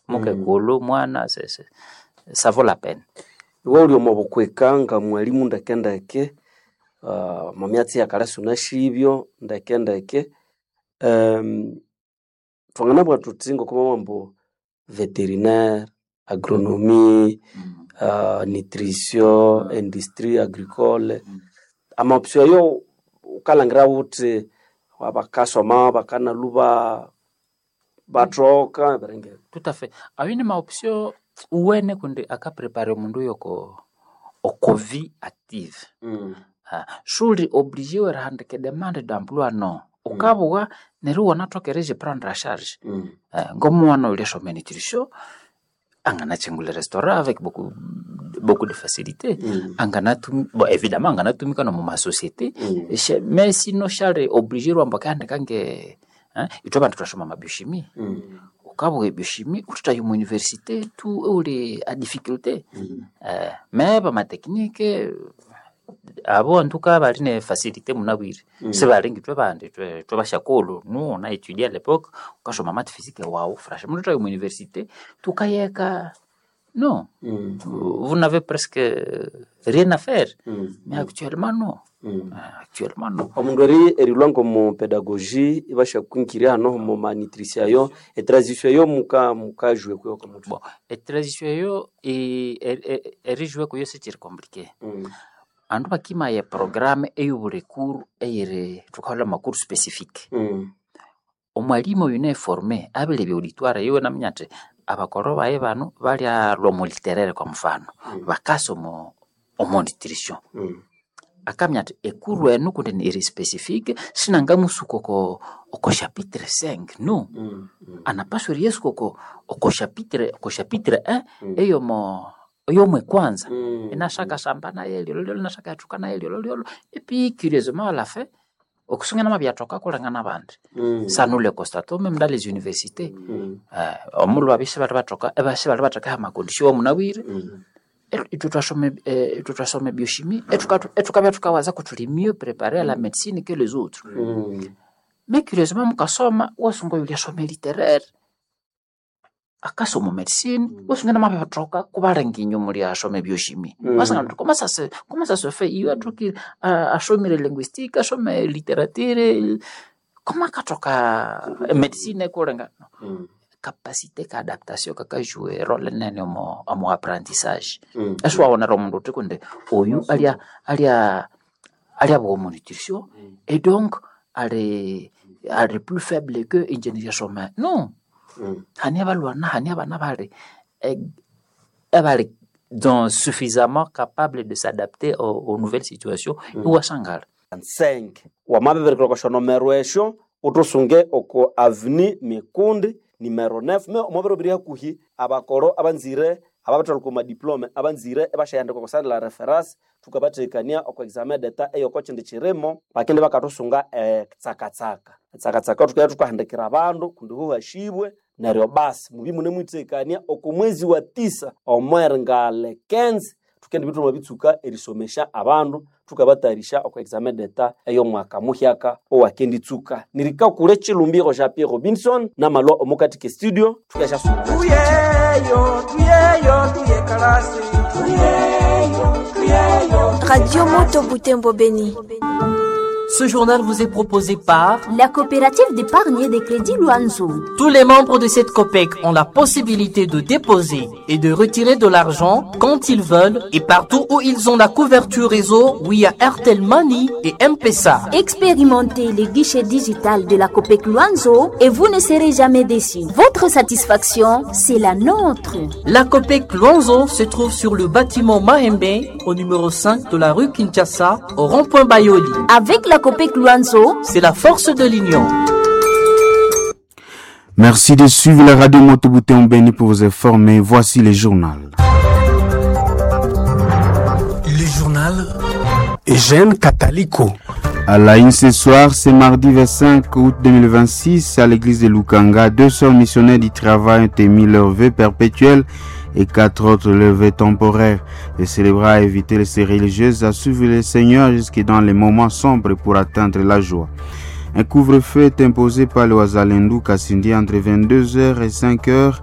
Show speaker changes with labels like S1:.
S1: Mukekulu mwana ça vaut la peine.
S2: Iwe wuli omo bukwika nga mwalimu ndeke ndeke, omo myatsi eyakale sunasibyo ndeke ndeke, thwanganabugha thuthi ngoko bamabugha ambu veterinaire, agronomie, nutrition, industrie agricole, ama option ayo wukalhangira wuthi abakasoma bakanalhuba bathoka ebiringe.
S1: Tout à fait. Ayo ni ma option uwene kundi akaprepare omundu yoko oko vie active. Suli obligé erihandika edemande d'emploi, no. Ukabugha neryo iwanathoka eriyiprendre en charge. Ngomwana oyulyasoma enutrition anganakyingulha erestaurant avec beaucoup, beaucoup de facilité. Anganatum bon, évidemment anganatumika nomu masociété. Mais sinon syali obligé ambu akahandika nge ithwe abandu thwasoma ama biochimie. Ukabugha ebiochimie wuthithaya omu université tu iwuli a difficulté. Mais bama technique abo entoucas bali ne facilité munabwire. Sibali ngithwe bandi ithwe basyakulhu, nous on a étudié à l'époque, wukasoma math physique wawu franchement wuthithaya omu université thukayeka, non. Vous n'avez presque rien à faire. Mais actuellement non. Actuellement non.
S2: Omundu erilhwa ngomu pedagogy ibasyakwingirya hano omu ma nutrition ayo, etransition eyo mukajwa kuyo komuthwe.
S1: Bon, etransition eyo erijwa kuyo sikyiri compliqué. Abandu bakimaya eprogramme eyobuli cours eyiri thukaholha ama cours spécifique. Omwalimu oyune formé abilebya auditoire yiwe inaminya athi abakolho bayi bano balyalhwa omo littéraire kwa mfano, bakasa omo nutrition. Akaminya athi ecours enu kundi iri spécifique sinangamusuka oko chapitre 5, no. Anapaswa eriyasuka oko chapitre 1 eyomo eyomwekwanza. Inashakasamba nayo lyolyolyolo inashakayathuka nayo lyolyolyolo et puis curieusement à la fin okusinga namabiyathoka kulengana abandi. Ça nous le constatons même dans les universités. Omulhu babya isibalhibathoka isibalhibathekaho ama condition awamunabwire, ithwe thwasoma ebiochimie ithukabya thukawaza kuthuli mieux préparé à la médecine que les autres. Mais curieusement mukasoma iwasunga oyulyasoma elittéraire akasoma medicine, iwasunga inamabithoka kubalenga inywe mulyasoma ebiochimie. Iwasanga wuthi comment ça se fait iyo athokire asomire linguistique, asome littérature, comment akathoka emedicine kulenga. Capacité ka adaptation kakajouer erole nene omo apprentissage. Isiwawonera omundu wuthi kundi oyu alyabugha omo nutrition et donc ali plus faible que ingye niryasoma, no. Hane abalwana, hane abana abali abali donc suffisamment capable de s'adapter aux nouvelles situations iwasangala.
S2: 5 wamabibirikira oko syonomero esyo uthusunge oko avenue Mikundi numero 9 me omwabiro biri hakuhi abakoro abanzire ababathalhuka omu madiplome abanzire ibasyahandika oko sande la reference thukabathekania oko examen d'etat eyoko kyindi kirimo bakindi bakathusunga etsakatsaka. Etsakatsaka thukabya thukahandikira abandu kundi huhashibwe neryo basi mubye imunemwithekania oko mwezi wa tisa omweringa le 15 thukendibya thwamabitsuka erisomesya abandu thukabathayarisya oko examen d'etat ey'omwaka muhyaka owakenditsuka. Nirikakule Chilumbiro Jean Pierre Robinson namalwa omukati ke studio thukasyasunga.
S3: Tuyeyo, tuyeyo, tuye kalasi. Tuyeyo, tuyeyo.
S4: Radio Moto Butembo Beni.
S5: Ce journal vous est proposé par
S6: la coopérative d'épargne et de crédit Luanzo.
S5: Tous les membres de cette COPEC ont la possibilité de déposer et de retirer de l'argent quand ils veulent et partout où ils ont la couverture réseau via Airtel Money et M-Pesa.
S6: Expérimentez les guichets digital de la COPEC Luanzo et vous ne serez jamais déçus. Votre satisfaction, c'est la nôtre.
S5: La COPEC Luanzo se trouve sur le bâtiment Mahembe au numéro 5 de la rue Kinshasa au rond-point Bayoli.
S6: Avec la COPEC Luanzo,
S5: c'est la force de l'union.
S7: Merci de suivre la radio Moto Butembo Beni pour vous informer. Voici les journaux.
S8: Le journal Eugène Kataliko.
S7: À la une ce soir, c'est mardi 25 août 2026, à l'église de Lukanga, deux sœurs missionnaires du travail ont émis leur vœu perpétuel et quatre autres leur vœu temporaire. Le célébra a invité les religieuses à suivre le Seigneur jusque dans les moments sombres pour atteindre la joie. Un couvre-feu est imposé par le Wazalendo Kasindi entre 22h et 5h.